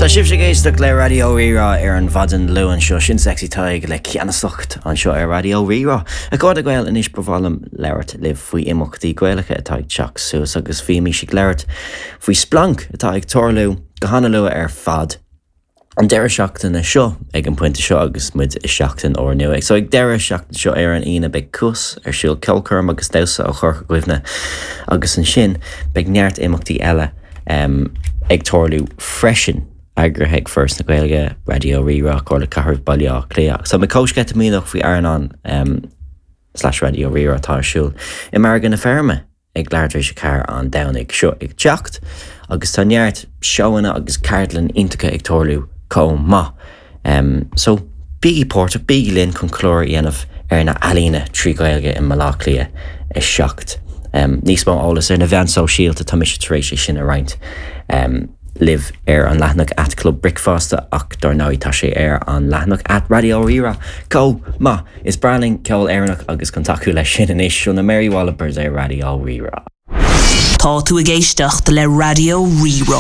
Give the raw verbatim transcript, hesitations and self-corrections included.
Tá sibh ag éisteacht le Raidió Rí-Rá ar an mhaidin Luain seo sin Sexy Tadhg le ceannasacht anseo ar Raidió Rí-Rá. A chairde Gael anois ba mhaith liom labhairt libh faoi imeachtaí Gaelacha atá ag teacht suas agus bhímis ag labhairt faoi Splanc atá ag tarlú go han-luath ar fad. An deireadh seachtaine seo ag an pointe seo agus muid i seachtain úrnua. So ag deireadh seachtain seo ar an Aoine beidh Cuas ar siúl ceolchoirm agus damhsa ó Chorca Dhuibhne agus ansin beidh neart imeachtaí eile um, ag tarlú freisin eagraithe ag Foras na Gaeilge, Raidió Rí-Rá Comhairle Cathrach Baile Átha Cliath. So mé comhsceitimíneach faoi Airneán um, slash Raidió Rí-Rá atá ar siúl i Margadh na Feirme ag leathuair tar éis a ceathair an Domhnaigh seo ag teacht, agus tá neart seóanna agus ceardlanna iontacha ag tarlú chomh maith. Um, so bígí páirteach bígí linn chun clár a dhéanamh ar na healaíona trí Ghaeilge i mBaile Átha Cliath a seacht. Um, níos mó eolas ar na meáin shóisialta tá mise tar éis é sin a roinnt. Um, libh ar an leathanach at Club Bricfeasta ach dar ndóigh tá sé ar an leathanach at Raidió Rí-Rá. Chomh maith is breá linn ceol Éireannach agus chun tacú leis sin anois seo na Mary Wallopers ar Raidió Rí-Rá. Tá tú ag éisteacht le Raidió Rí-Rá.